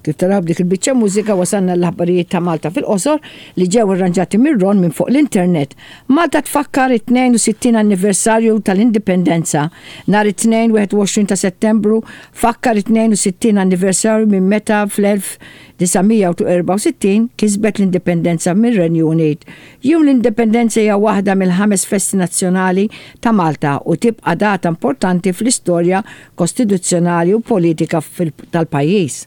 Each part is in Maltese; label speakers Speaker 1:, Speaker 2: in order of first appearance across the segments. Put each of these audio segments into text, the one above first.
Speaker 1: Kif taraw b'dik il-biċċa mużika wasalna l-aħbarijiet ta' Malta fil-qosor li ġew irranġati minn Ron minn fuq l-internet. Malta tfakkar it-62 anniversarju tal-Indipendenza. Nhar it-Tnejn 21 ta' Settembru fakkar it-62 anniversarju minn meta fl-1964 kisbet l-Indipendenza mir-Renju Unit. Jum l-Indipendenza hija waħda mill-ħames festi nazzjonali ta' Malta u tibqa' data importanti fl-istorja kostituzzjonali u politika tal-pajjiż.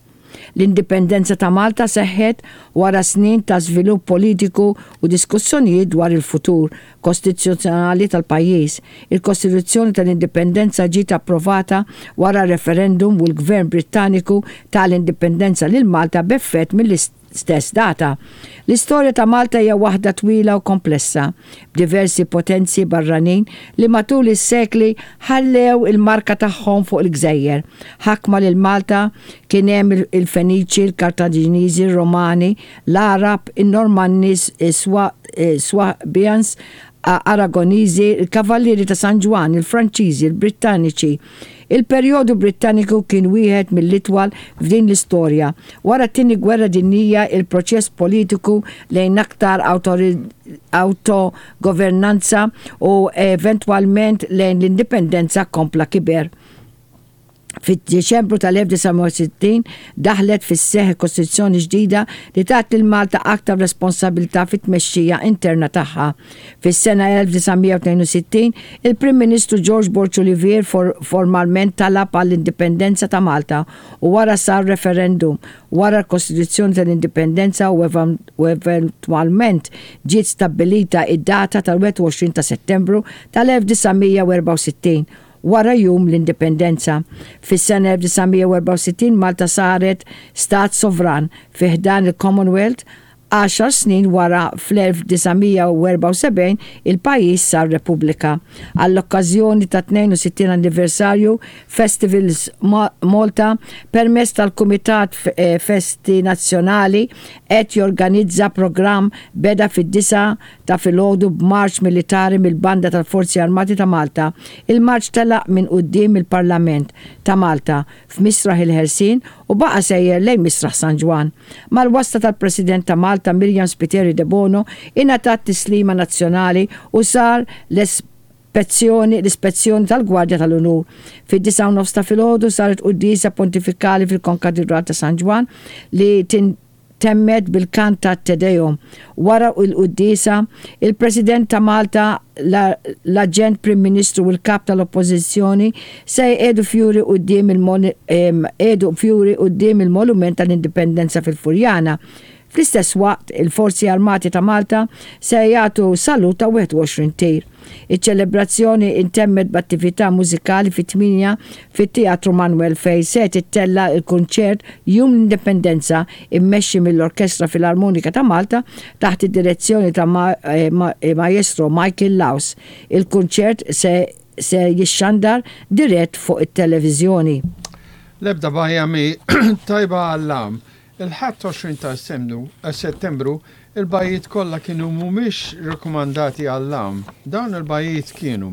Speaker 1: L-indipendenza ta' Malta seħħet wara snin ta' żvilupp politiku u diskussjonijiet dwar il-futur kostituzzjonali tal-pajjiż. Il-Kostituzzjoni tal-Indipendenza ġiet approvata wara referendum u l-Gvern Brittaniku ta l-indipendenza lil Malta b'effett mill-istess data. L-istorja ta' Malta hija waħda twila u komplessa, b'diversi potenzi barranin li matul is-sekli ħallew il-marka tagħhom fuq il-gżejjer. Ħakma lil Malta kien hemm il-Feniċi, il-Kartaġiniżi, ir-Romani, l-Għarab, in-Normanni, is-Swabians, Aragoniżi, il-Kavallieri ta' San Ġwann, il-Franċiżi, il-Brittaniċi. Il-perjodu Brittaniku kien wieħed mill-itwal f'din l-istorja. Wara t-Tieni Gwerra Dinjija, il-proċess politiku lejn aktar awtogovernanza u eventwalment lejn l-indipendenza kompla kiber. Fid-Diċembru tal-1960 daħlet fis-seħħ Kostituzzjoni ġdida li tat lil Malta aktar responsabilità fit-tmexxija interna tagħha. Fis-sena 1962, il-Prim Ministru George Borg Olivier formalment talab għall-indipendenza ta' Malta u wara sar referendum wara l-Kostituzzjoni tal-Indipendenza u eventwalment ġiet stabbilita id-data tal-21 ta' Settembru tal-1964 wara Jum l-Indipendenza. Fis-sena 1964 Malta saret stat sovran fi ħdan il-Commonwealth, għaxar snin wara fl-1974 il-pajjiż sar Repubblika. Għall-okkażjoni tat-62 anniversarju, Festivals Malta permezz tal-Kumitat Festi Nazzjonali qed jorganizza programm beda fid-disgħa ta' filgħodu b'marċ militari mill-Banda tal-Forzi Armati ta' Malta. Il-marċ telaq minn quddiem il-Parlament ta' Malta f'Misraħ il-Ħelsien u baqa' sejjer lejn Misraħ San Ġwann. Mal-wasla tal-President ta' Malta Myriam Spiteri Debono ingħatat tislima nazzjonali u sar l-ispezzjoni l-ispezzjoni tal-Gwardja tal-Unur. Fid-disgħa u nofs ta' filgħodu saret quddiesa pontifikali fil-Konkatidral ta' San Ġwann li temmet bil-kant ta' Te Deum. Wara l-quddiesa, il-President ta' Malta, l-Aġent Prim Ministru u l-Kap tal-Oppożizzjoni se jqiegħdu fjuri quddiem il fjuri quddiem il-Monument tal-Indipendenza fil-Furjana. Fl-istess waqt, il-Forzi Armati ta' Malta se jagħtu salut ta' 21 tir. Iċ-ċelebrazzjoni intemmet b'attività mużikali fit-tmienja fit-Teatru Manoel fejn se tittella' l-kunċert Jum l-Indipendenza immexxi mill-Orkestra Filarmonika ta' Malta taħt id-direzzjoni ta' Maestro Michael Laus. Il-kunċert se se jixxandar dirett fuq it-televiżjoni.
Speaker 2: L-ebda bajja mhi tajba għall-għawm. Il-Ħadd 20 ta' Settembru, il-bajjiet kollha kienu mhumiex rakkomandati għall-għawm. Dawn il-bajjiet kienu,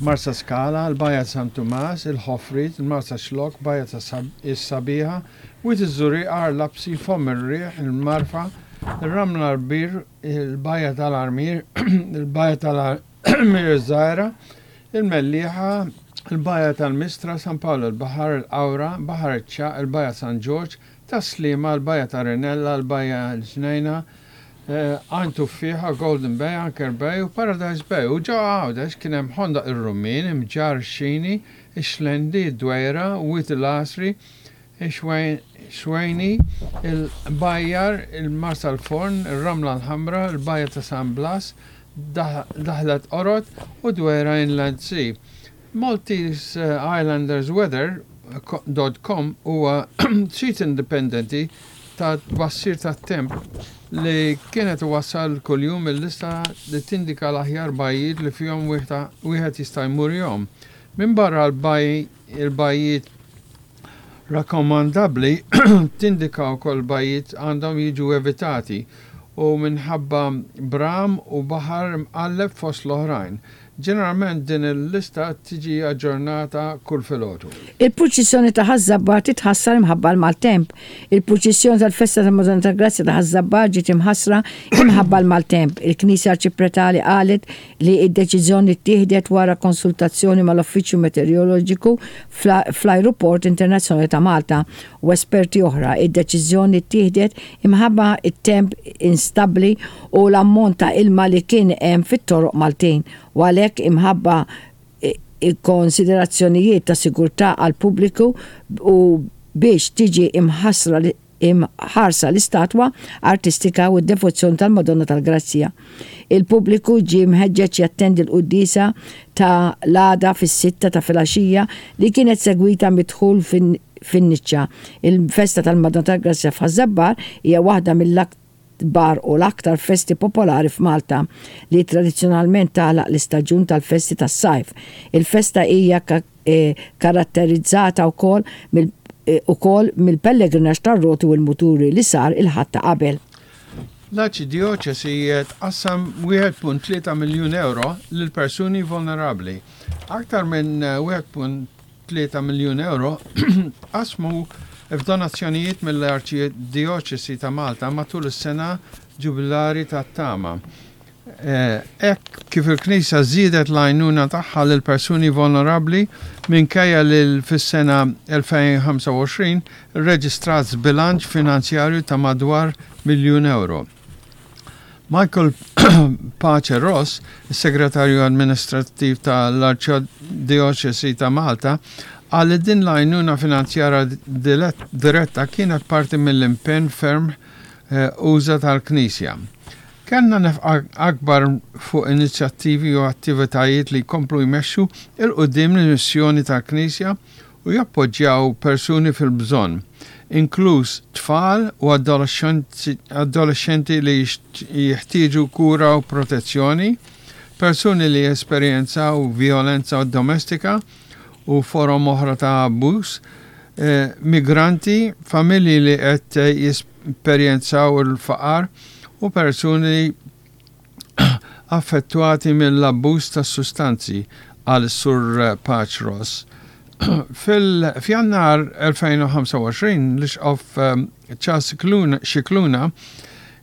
Speaker 2: Marsaskala, il-Bajja ta' San Tumas, il-Ħofriet, il-Marsaxlokk, Bajja ta' is-Sabiħa, Wied iż-Żurrieq, Għar Lapsi, Fomm ir-Riħ, il-Marfa, ir-Ramla l-Kbir, il-Bajja tal-Armier, il-Bajja tal-Armier iż-Żgħira, Il-Mellieħa, il-Bajja tal-Mistra, San Pawl il-Baħar, il-Qawra, Baħar iċ-Ċagħaq, il-Bajja San Ġorġ, Tas-Sliema, il-Bajja ta' Rinella, il-Bajja l-Ġnejna, Għajn Tuffieħa, Golden Bay, Anchor Bay u Paradise Bay. U ġewwa Għawdex kien hemm Ħondoq ir-Rummien, Imġarr ix-Xini, ix-Xlendi, id-Dwejra, Wied il-Għasri, ix-Xwejni, il-Bajjar, il-Marsalforn, ir-Ramla l-Ħamra, il-Bajja ta' San Blas, Daħlet Qorod u Dwejra Inland Sea. Maltese Islanders Weather dot com huwa sit indipendenti ta' tbassir tat-temp li kienet iwassal kuljum il-lista li tindika l-aħjar bajjiet li fihom wieħed jista' jmur jgħum. Minbarra l-bajjiet rakkomandabbli tindika wkoll bajjiet għandhom jiġu evitati u minħabba bram u baħar imqalleb fost l-oħrajn. Ġeneralment din il-lista tiġi aġġornata kull filgħodu.
Speaker 1: Il-purċissjoni ta' Ħaż-Żabbar titħassar imħabba l-maltemp. Il-purċissjoni tal-festa tal-Madonna tal-Grazzja ta' Ħaż-Żabbar ġiet imħassra imħabba l-maltemp. Il-Knisja Arċipretali qalet li d-deċiżjoni ttieħdet wara konsultazzjoni mal-Uffiċċju Meteoroloġiku fl-Ajruport Internazzjonali ta' Malta u esperti oħra. Id-deċiżjoni ttieħdet imħabba t-temp instabbli u l-ammont ta' ilma li kien hemm fit-toroq Maltin u għalhekk imħabba konsiderazzjonijiet ta' sigurtà għall-pubbliku u biex tiġi imħassra imħarsa l-istatwa artistika u d-devozzjoni tal-Madonna tal-Grazzja. Il-pubbliku ġie mħeġġeġ jattendi l-quddiesa ta' l-għada fis-sitta ta' filgħaxija li kienet segwita mid-dħul fin-niċċa. Il-festa tal-Madonna tal-Grazzja f'Ħaż-Żabbar hija waħda mill-akbar u l-aktar festi popolari f'Malta li tradizzjonalment tagħlaq l-istaġun tal-festi tas-sajf. Il-festa hija karatterizzata wkoll ukoll mill-pellegrinaġġ tar-roti u l-muturi li sar il-Ħadd ta' qabel.
Speaker 2: L-Arċidjoċesi tqassam 1.3 miljun ewro lil persuni vulnerabbli. Aktar minn 1.3 miljun ewro tqassmu f'donazzjonijiet mill-Arċidjoċesi ta' Malta matul is-sena ġubilari tat-Tama. Hekk kif il-Knisja żiedet l-għajnuna tagħha lil persuni vulnerabbli minkejja li fis-sena 2025 rreġistrat żbilanċ finanzjarju ta' madwar miljun ewro. Michael Pace Ross, is-Segretarju Amministrattiv tal-Arċidjoċesi ta' Malta, qal li din l-għajnuna finanzjarja diretta kienet parti mill-impenn ferm usa' tal-Knisja. Kellna nefqa akbar fuq inizjattivi u attivitajiet li jkomplu jmexxu 'l quddiem l-missjoni tal-Knisja u jappoġġjaw persuni fil-bżonn, inkluż tfal u adolexxenti li jeħtieġu kura u protezzjoni, persuni li jesperjenzaw vjolenza domestika u forom oħra ta' abbuż, migranti, familji li qed jesperjenzaw il-faqar u persuni affettwati mill-abbuż tas-sustanzi, qal is-Sur Pace Ross. F'Jannar 2025, l-Isqof Charles Scicluna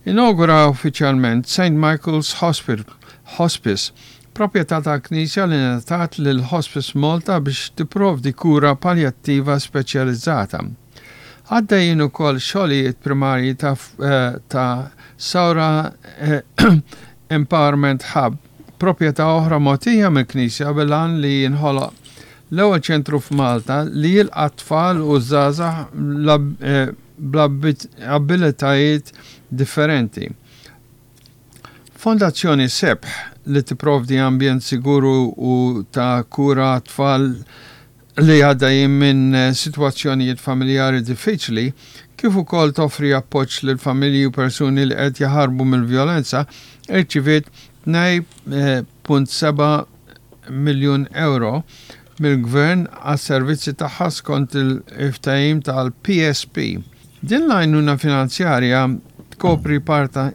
Speaker 2: inawgura uffiċjalment St Michael's Hospice, proprjetà tal-Knisja li ngħatat lil Hospice Malta biex tipprovdi kura paljattiva speċjalizzata. Għaddejjin ukoll xogħlijiet primarji ta' ta' Saura Empowerment Hub, proprjetà oħra mogħtija mill-Knisja bil-għan li jinħoloq l-ewwel ċentru f'Malta li jilqa' tfal u żgħażagħ b'abilitajiet differenti. Fondazzjoni Sebħ li tipprovdi ambjent sigur u ta' kura għat-tfal li għaddejjin minn sitwazzjonijiet familjari diffiċli, kif ukoll toffri appoġġ lil familji u persuni li qed jaħarbu mill-vjolenza, irċiviet 2.7 miljun ewro mill-Gvern għas-servizzi tagħha skont il-ftehim tal-PSP. Din l-għajnuna finanzjarja tkopri parti.